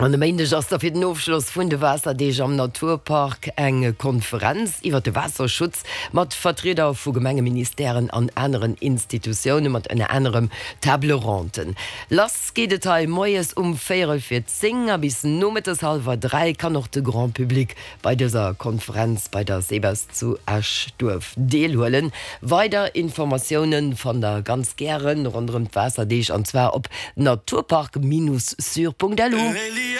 An e Méindeg ass da fir den Ofschloss vun de Waasserdeeg am Naturpark eng Konferenz iwwer de Waasserschutz mat Vertrieder vu Gemengen, Ministèren an aneren Institutioune mat ënner anerem Table Ronde. Lass geet et hei moies um véierel vir 10 a bis nomëttes hallwer 3 kann och de Grand Public bei dëser Konferenz bei der SEBES zu Esch-Duerf deelhuelen. Weider Informatiounen fannt der ganz gären ronderëm d'Waasserdeeg an zwar op naturpark-sur.lu.